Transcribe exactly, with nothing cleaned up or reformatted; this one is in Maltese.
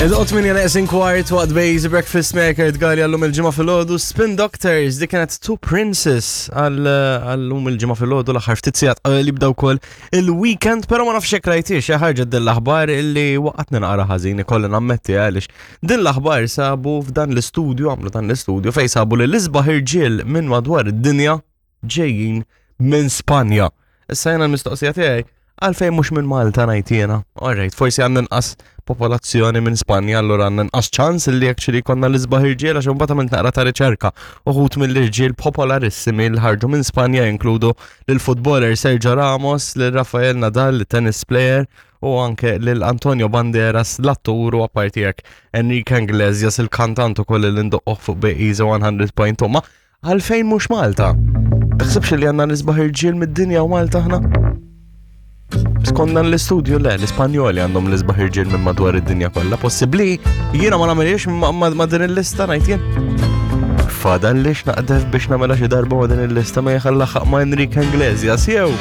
Id-dot minn neqsin kwart waqt Bejz Breakfast Maker tgali għallum il-ġimgħa filgħodu Spin Doctors dik kienet Two Princess għallum il-ġimgħa filgħodu l-aħħar ftit sigħat li bdew ukoll il-weekend, però ma nafx hekk rajtix xi ħarġet din l-aħbar illi waqgħatni naqra ħażin ikolli nammetti għaliex din l-aħbar sabu f'dan l-istudju għamlu dan l-istudju fejn sabu li l-isbaħ irġiel minn madwar id-dinja ġejjin minn Spanja. Issa jena l-mistoqsija tiegħi għalfejn mhux minn Malta ngħid jiena. Alright, forsi għandna nqas popolazzjoni minn Spanja, allura għandna nqas ċans li actually konna l-isbaħ irġiel għax imbagħad għamilt naqra ta' riċerka. Uħud mill-irġiel popolarissimi li ħarġu minn Spanja jinkludu lil-footballer Sergio Ramos, lil Rafael Nadal, tennis player, u anke lil Antonio Banderas, l-attur u apparti hekk Enrique Iglesias, il-kantant ukoll li ndoqqoh fuq Bejza mija punt tnejn. Ma għalfejn mhux Malta? Taħsibx li għandna l-isbaħ irġiel mid-dinja u Malta aħna? Skont dan l-istudju le, l-Ispanjoli għandhom l-isbaħ irġiel minn madwar id-dinja kollha. Possibbli jiena ma nagħmilx ma, ma, ma din il-lista ngħid jien. Fadal lix naqdef biex nagħmilha xi darba ma din il-lista ma jħallaħaq ma' Enrique Iglesias jew.